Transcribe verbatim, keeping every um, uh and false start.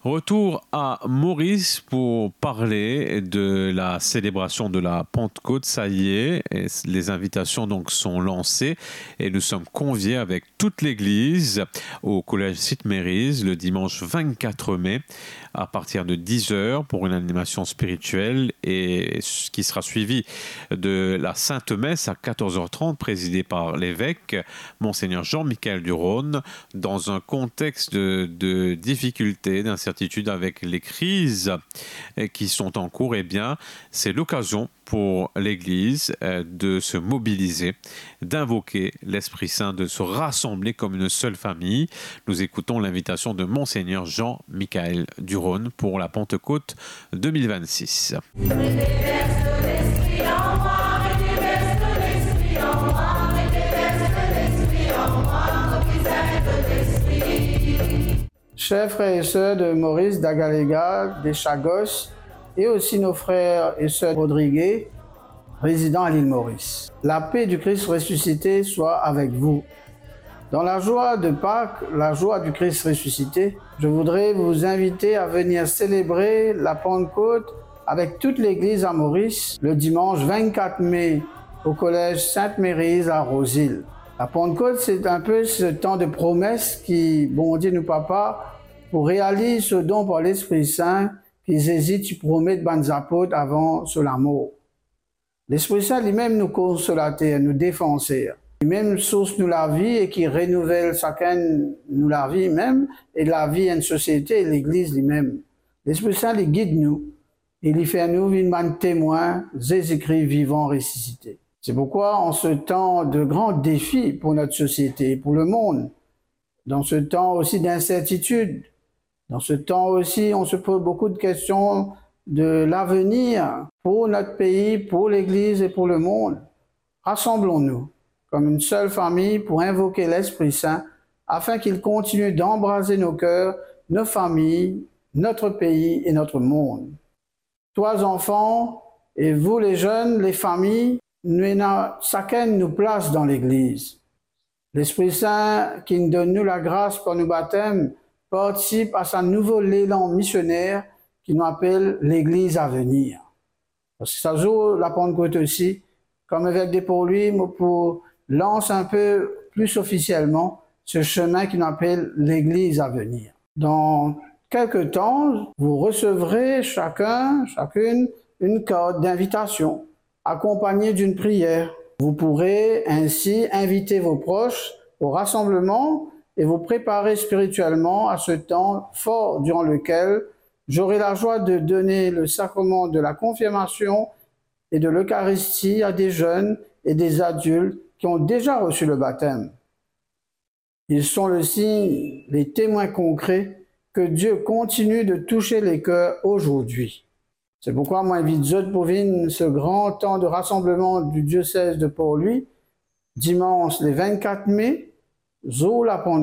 Retour à Maurice pour parler de la célébration de la Pentecôte. Ça y est, et les invitations donc sont lancées et nous sommes conviés avec toute l'église au collège Sainte-Mérieuse le dimanche vingt-quatre mai à partir de dix heures pour une animation spirituelle et ce qui sera suivi de la Sainte Messe à quatorze heures trente présidée par l'évêque, Monseigneur Jean-Michel Durone, dans un contexte de, de difficultés, d'incertitudes avec les crises, euh, qui sont en cours, eh bien, c'est l'occasion pour l'Église, euh, de se mobiliser, d'invoquer l'Esprit Saint, de se rassembler comme une seule famille. Nous écoutons l'invitation de Monseigneur Jean-Michel Durone pour la Pentecôte deux mille vingt-six. Chers frères et sœurs de Maurice, d'Agaléga, des Chagos, et aussi nos frères et sœurs rodriguais, résidant à l'île Maurice, la paix du Christ ressuscité soit avec vous. Dans la joie de Pâques, la joie du Christ ressuscité, je voudrais vous inviter à venir célébrer la Pentecôte avec toute l'Église à Maurice le dimanche vingt-quatre mai au collège Sainte-Mérieuse à Rose-Île. La Pentecôte, c'est un peu ce temps de promesse ki Bondie nou Papa pou realiz so don par Lespri Sin ki Zezi ti promet bann zapot avan so lamor. Lespri Sin limem nou konsolater, nou defanser. Limem sours nou lavi e ki renouvel sakenn nou lavi mem e lavi enn sosiete, legliz limem. Lespri Sin li gid nou e li fer nou vinn bann temwin Zezikri vivan resisite. C'est pourquoi, en ce temps de grands défis pour notre société et pour le monde, dans ce temps aussi d'incertitude, dans ce temps aussi on se pose beaucoup de questions de l'avenir pour notre pays, pour l'Église et pour le monde, rassemblons-nous comme une seule famille pour invoquer l'Esprit Saint afin qu'il continue d'embraser nos cœurs, nos familles, notre pays et notre monde. Toi, enfants, et vous, les jeunes, les familles, nou ena sakenn nou plas dan legliz. Lespri Sin ki'nn donn nou lagras par nou batem partisip a sa nouvo lelan misioner ki nou apel Legliz Avenir. Parski sa zour Lapantkote osi, kom evekel de Porlwi, mo pou lans inpe pli ofisielman se semin ki nou apel Legliz Avenir. Dans quelque temps, vous recevrez chacun, chacune, une carte d'invitation, accompagnée d'une prière. Vous pourrez ainsi inviter vos proches au rassemblement et vous préparer spirituellement à ce temps fort durant lequel j'aurai la joie de donner le sacrement de la confirmation et de l'Eucharistie à des jeunes et des adultes qui ont déjà reçu le baptême. Ils sont le signe, les témoins concrets que Dieu continue de toucher les cœurs aujourd'hui. C'est pourquoi mo invit zot pou vinn se gran tan de rassemblement du diocèse de Porlwi, dimans le vingt-quatre mai, zour Lapantkote.